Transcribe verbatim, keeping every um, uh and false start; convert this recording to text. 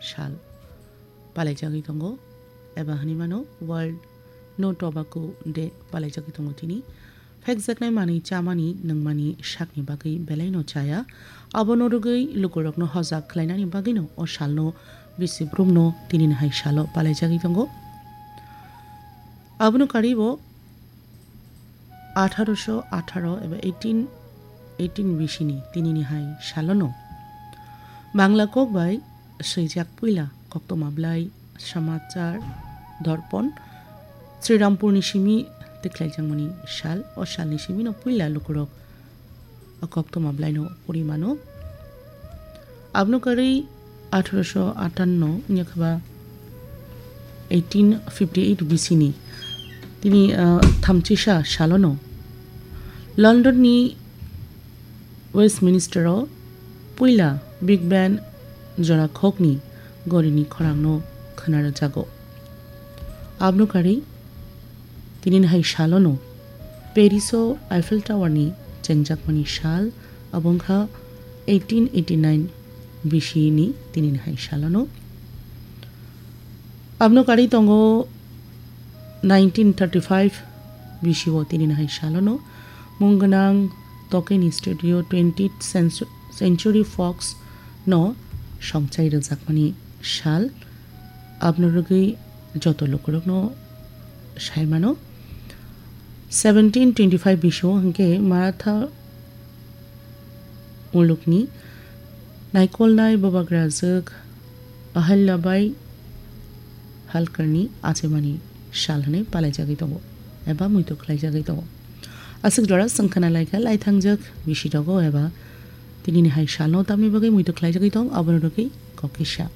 sal palaijagwi tongo, eba hwnwi mano World No Tobacco Day palaijagwi tongo tini. Phekjaknai manwi chamani nungmani sakni bagwi belaino chaya. Abono rwgwi lukurokno hojak khlainani bagwino o salno bisi brumno tinini hai salo palaijagwi tongo. Abono karibo atharoso atharo eba eighteen eighteen bisini tinini hai salono Bangla kok bai swijak puila koktwma blai Samachar Dorpon Srirampurni simi tikhlaijakmani sal. O salni simino puila lukurok o koktwma blaino puri mano. Abno karwi atharoso atanno wngya khe ba eighteen fifty eight bisini tini, ah, thamchisa salono Londonni Westminstero puila Big Ben jora khokni gorini khorangno khwnarwjago. Abno karwi tinini hai salono Pariso Eiffel Towerni chengjakmani sal, abo wngkha eighteen eighty nine bisini tinini hai salono. Abno karwi tongo nineteen thirty five bisio tinini hai salono mung gwnang Tokeni studio twentieth Centu-, Century Fox no songchai rwjakmani sal. Abno rwgwi joto lukurokno sai mano. Seventeen twenty five bisio hwnkhe Maratha mulukni naikolnai bubagrajwk Ahilyabai Holkarni achaimani sal hwnwi palaijagwi tongo eba muitu khlaijagwi tongo. Aswk jora chwng khna laikha laithangjak bisi rogo eba tinini hai salno tamni bagwi muitu khlaijagwi tong, abono rwgwi kok kisa.